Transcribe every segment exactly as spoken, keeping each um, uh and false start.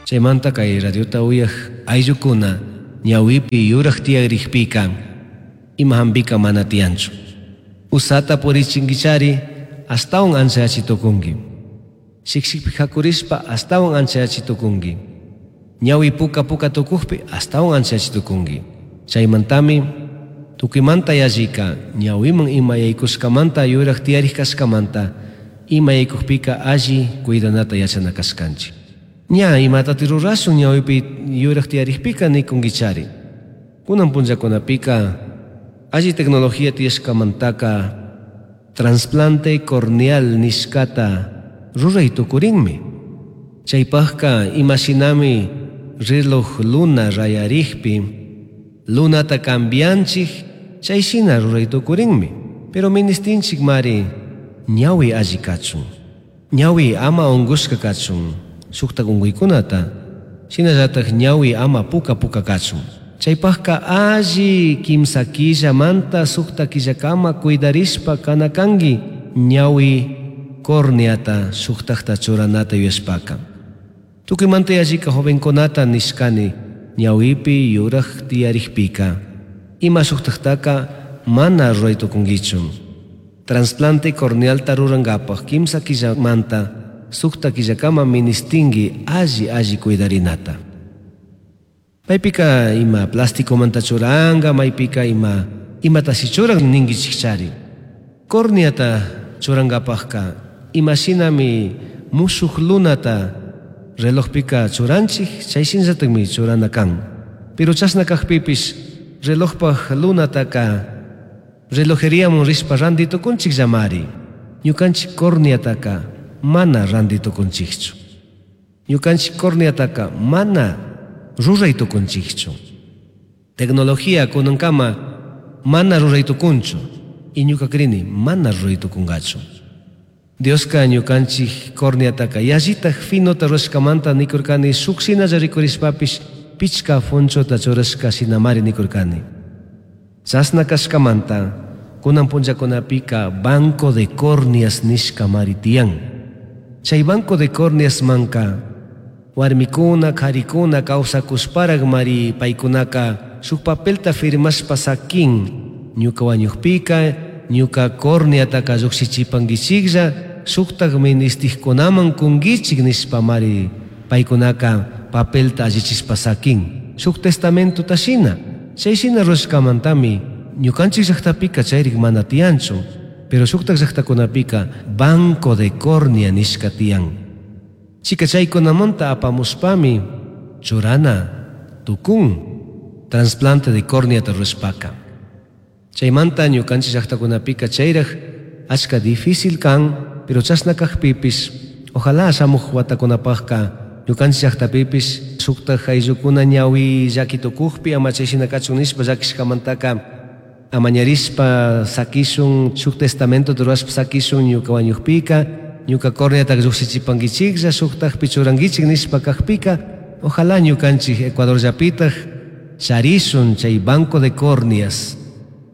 Chaymanta kay radiota uyaj ayllukuna ñawipi yuraj tiyarikpika ima hampika mana tiyanchu. Usata purichinkichari astawan anchayachi tukunki. Shikshikpi hakurishpa astawan anchayachi tukunki. Ñawi puka puka tukukpi astawan anchayachi tukunki. Chaymantami tukuymanta yallika ñawiman ima yaykushkamanta yuraj tiyarik kashkamanta ima yaykukpika alli cuidanata yachana kashkanchik. Ña imatati rurashun ñawipi yuraj tiyarikpika nikunkichari. Kunan punllakunapika alli tecnología tiyashkamantaka trasplante corneal nishkata ruray tukurinmi. Chaypaqka imashinami reloj luna rayarikpi lunata cambianchik chayshina ruray tukurinmi. Pero ministinchik mari ñawi alli kachun. Ñawi ama unkushka kachun shuktak unkuykunata shinallatak ñawi ama puka puka kachun. Chaypaqka alli kimsa killamanta sukta killakama cuidarishpa kana kanki ñawi corneata shuktakta churanata yuyashpaka. Tukuymanta yallika jovenkunata nishkani ñawipi yuraj tiyarikpika ima shuktaktaka mana ruray tukunkichu. Trasplante cornealta rurankapaj kimsa killamanta sukta killakama ministinki alli alli cuidarinata. Maypika ima plasticomanta churanka, maypika ima imatashi churan ninkichikchari. Corneata churankapajka imashinami mushuk lunata relojpika churanchik, chayshinllatakmi churana kan. Pero chashna kakpipish relojpaj lunataka relojeriaman rishpa ranti tukunchik llamari. Ñukanchik corneataka mana ranti tukunchikchu. Ñukanchik corneataka mana ruray tukunchikchu. Tecnología kunankama mana ruray tukunchu. Y ñuka krini mana ruray tukunkachu. Dioska ñukanchik corneataka yallitak finota rurashkamanta nikurkani shuk shinalla rikurishpapish pichka fonchota churashka shinamari nikurkani. Chashna kashkamanta kunan punllakunapika banco de córneas nishkamari tiyan. Chay banco de córneas manka warmikuna karikuna kawsakushparak mari paykunaka shuk papelta firmashpa sakin ñuka wañukpika ñuka corneataka llukshichipankichiklla shuktak ministikkunaman kunkichik nishpa mari paykunaka papelta allichishpa sakin shuk testamentota shina. Chay shina rurashkamantami ñukanchik llaqtapika chayrik mana tiyanchu, pero shuktak llaqtakunapika banco de córnea nishka tiyan. Chika chaykunamanta apamushpami churana tukun trasplante de córneata rurashpaka. Chaymanta ñukanchik llaqtakunapika chayraj achka difícil kan, pero chashna kakpipish ojalá shamuj watakunapajka ñukanchik llaqtapipish shuktak ayllukuna ñawi llaki tukukpi ama chayshina kachun nishpa llakishkamantaka amañarishpa sakishun shuk testamento rurashpa sakishun ñuka wañukpika ñuka corneataka llukshichipankichiklla shuktakpi churankichik nishpa kakpika ojalá ñukanchik Ecuador llapitaj charishun chay banco de córneas.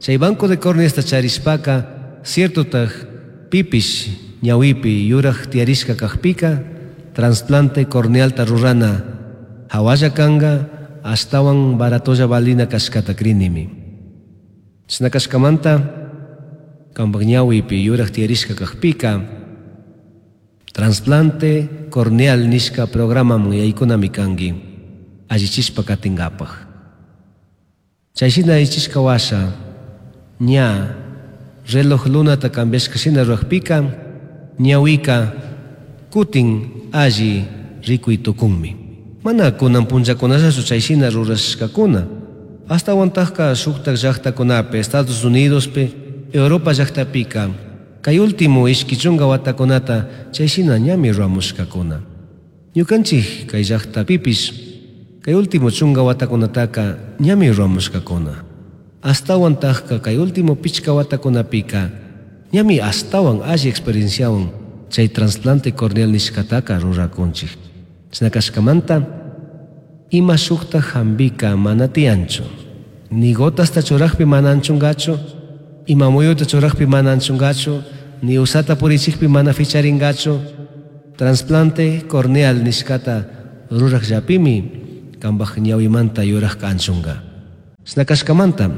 Chay banco de córneasta charishpaka ciertotaj pipish ñawipi yuraj tiyarishka kakpika trasplante cornealta rurana hawalla kanka astawan baratolla valina kashkata krinimi. Chashna kashkamanta kampak ñawipi yuraj tiyarishka kakpika trasplante corneal nishka programaman yaykunami kanki allichishpa katinkapaj. Chayshina allichishka washa ña reloj lunata cambiashka shina rurakpika ñawika kutin alli rikuy tukunmi. Mana kunan punllakunallachu chayshina rurashkakuna. Astawantajka shuktak llaqtakunapi, Estados Unidospi, Europa llaqtapika kay último ishki chunka watakunata chayshina ñami ruramushkakuna. Ñukanchik kay llaqtapipish kay último chunka watakunataka ñami ruramushkakuna. Astawantajka kay último pichka watakunapika ñami astawan alli experienciawan chay trasplante corneal nishkataka rurakunchik. Chashna kashkamanta ima shukta hambika mana tiyanchu. Ni gotasta churakpi mana anchunkachu, ima muyuta churakpi mana anchunkachu, ni usata purichikpi mana ficharinkachu. Trasplante corneal nishkata Rurajllapimi cambaj ñahuimanta yurajca anchunga. Shina cashcamanta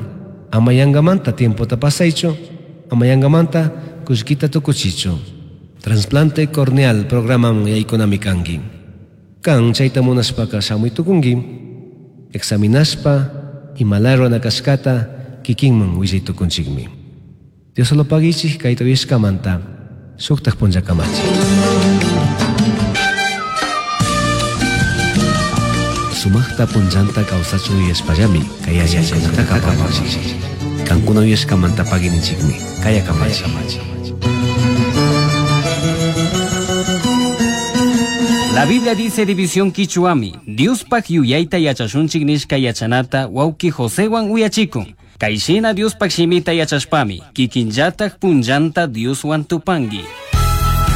ama yangamanta tiempota pasaichu, ama yangamanta cullquita tucuchichu. Trasplante corneal programan yaykunami kanki. Kan chayta munashpaka shamuy tukunki, examinashpa imalaya rurana kashkata kikinman willay tukunchikmi. Dios solo paguichik kayta uyashkamanta shuktak punllakamachi. Sumaqta punllanta kawsachun yuyashpallami kay yachaykunataka apamunchik. Kankuna uyashkamanta paguininchikmi. Kaya kamachi. La Biblia dice división quichuami, Diospaj yuyayta yachashunchik nishka yachanata wawki Josewan uyachikun. Kayshina Diospaj shimita yachashpami, kikinllatak punllanta Dioswan tupanki.